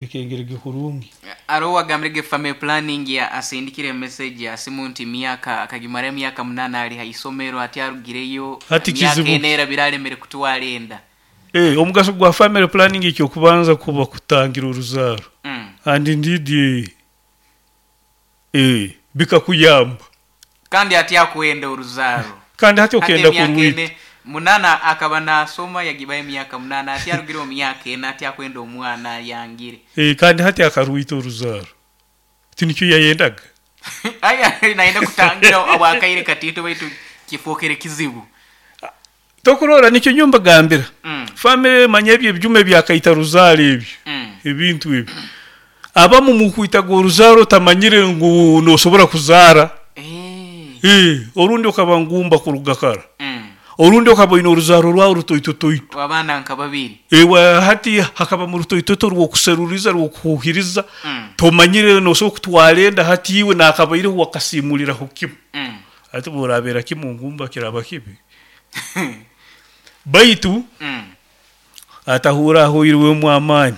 Bikengerege kurungi. Aroho owagambirege family planning asindikire message ya simu nti myaka akagimara emyaka 8 ali ha isomero ati arugireyo Hati emyaka kizibu. ena erabire alemere kutwara enda. Omugaso gwa family planning ekyokubanza kuba kutangira oruzaaro. And indeed bikakuyamba. Kandi ati akwenda oruzaaro. Kandi hati Hati okenda emyaka kurwita. ene 8 akaba nasoma yagibaho emyaka 8 ati arugire omu myaka ena ati akwenda omwana ayangire. Kandi hati akarwita oruzaaro. Tinikyo yayendaga. Aya nayenda kutangira obwakaire katiito baitu kifookere kizibu. Tokurora nikyo nyowe mbagambira. Family manya ebyo ebyuma ebyakaita ruzaaro ebyo. Ebintu ebyo. Abamu mukwitaga oruzaaro otamanyire ngu nosobora kuzaara. Orundi okaba ngumba kuruga kara. Orundi okaba oine oruzaaro rwawe rutoitotoito. Abaana nka babiri. Ewa hati hakabamu rutoitoto rw'okuseruriza rw'okuhuhiriza. Tomanyire nosobora kutwara enda hati iwe nakabaireho wakasimuliraho kimu. Hati bworabeera kimu ngumba kiraba kibi. Baitu atahuura ahoirwemu amaani.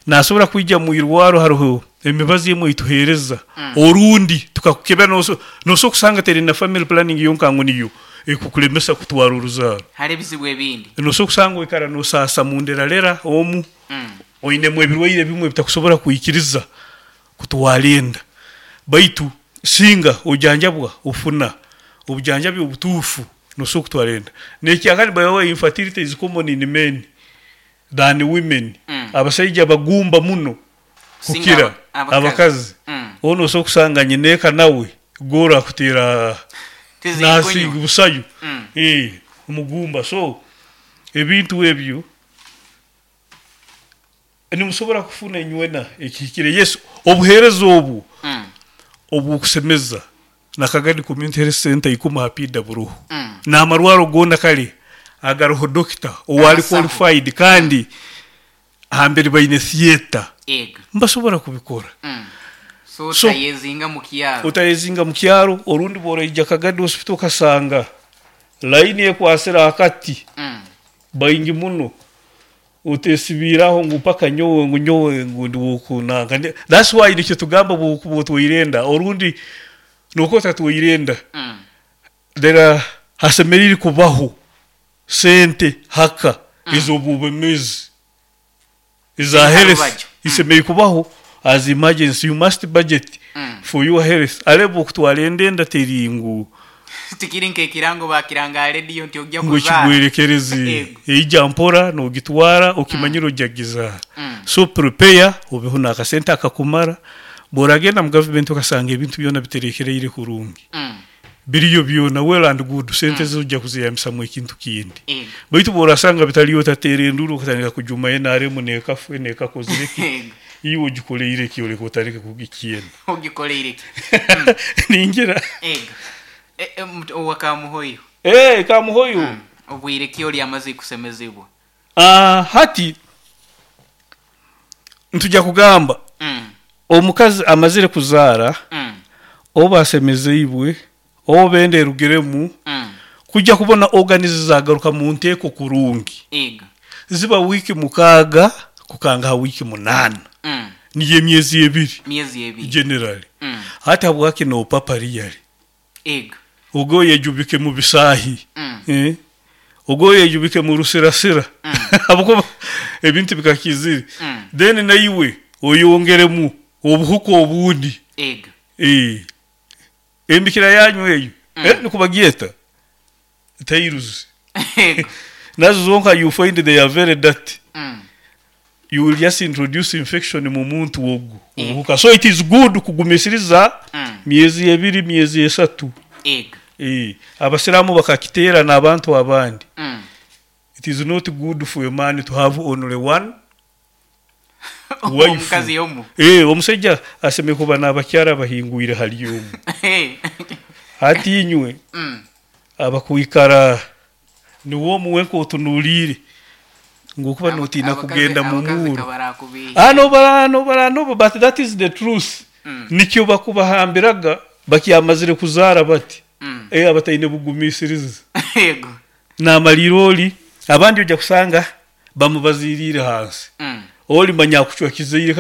Nasobora kwija mwirwaro haroho emibazi emwe eituheereza. Orundi tukakukebera nosobora kusanga teri na family planning yonka ngu niyo ekukulemesa kutwara oruzaaro. Hali ebizibu ebindi. Nosobora kusanga oikara nosaasa munderalera omu, oinemu ebirwaire ebimwe ebitakusobora kwikiriza kutwara enda. Baitu singa ojanjabwa ofuna obujanjabi obutuufu nosobora kutwara enda. Nekyakani by the way infertility is common in men than women. Abasaija bagumba muno kukira abakazi. Onu osobola kusanga nyineeka nawe goora akuteera nasinga busayo. Omugumba. So ebintu ebyo nimusobora kufuna inywena ekihikire. Yes, obuheereza obu obw'okusemeza Nakagadi Community Health Center ikumi ha PIDA buroho. N'amarwaro goona kare agaroho dokita owari qualified kandi hambere baine theatre nibasobora kubikora. So otayezinga mu kyaro. Otayezinga mu kyaro orundi bw'oraija Kagadi Hospital okasanga layini ekwasire akati baingi muno otesibiire aho ngu mpaka nyowe ngu nyowe ngu ndi w'okunanka. That's why nikyo tugamba bw'okuba otwaire enda orundi nokuba otatwaire enda there hasemeriire kubaho sente haka ez'obwebembezi eza health isemeriire kubaho as emergency. You must budget for your health. Arebe okutwara enda enda teri ngu Tikiri nk'ekirango bakiranga ha rediyo nti ojja ngu kuzaara. ekigwerekerezi. Eija mpora nogitwara okimanyire ojja kugizaara. So prepare obeho n'akasente akakumara. Bw'oragenda mu gavumenti okasanga ebintu byona biterekereire kurungi. Biriyo byona well and good sente zo ojja kuzeyambisamu ekintu kindi. Baitu bw'orasanga bitaliyo otateera enduuru okatandika kujuma NRM n'ekafu n'ekakozire ki, iwe ogikoleire ki oleke otandike kugikyena. Ogikoleire ki? Ningira. Owa Kamuhoyo. Kamuhoyo. Obwire ki oli amaze kusemezibwa? Hati nitujya kugamba omukazi amazire kuzaara oba asemezeibwe oba enda erugiremu kujya kubona organs zagaruka mu nteeko kurungi. Ziba wiiki 6 kukanga ha wiiki 8. Niyo emyezi ebiri. Myezi ebiri. Generally. Hati habwaki nopapa really? Ogo oyejubike mu bisaahi. Ogo oyejubike mu rusirasira. Habwokuba ebintu bikakizire. Then naiwe oyongeremu obuhuka obundi. Embikira yanyu eyo nikubagyeta tiles. Nazo zonka you find they are very dirty. You will just introduce infection mu muntu ogu obuhuka. So it is good kugumisiriza myezi 2 myezi 3. Abasiraamu bakakiteera n'abantu abandi. It is not good for a man to have only one wife. Omukazi omu. Omusaija asemeriire kuba n'abakyara abahingwire hali omu. Hati inywe abakwikara niwe omu wenka otunuliire ngu okuba notiina kugenda mu muuro. No, but that is the truth. Nikyo bakubahambiraga bakyamazire kuzaara bati. Abataine bugumisiriza. Naamaliire oli abandi ojja kusanga bamubaziriire hansi. Oli manya akucwa kizaire kale.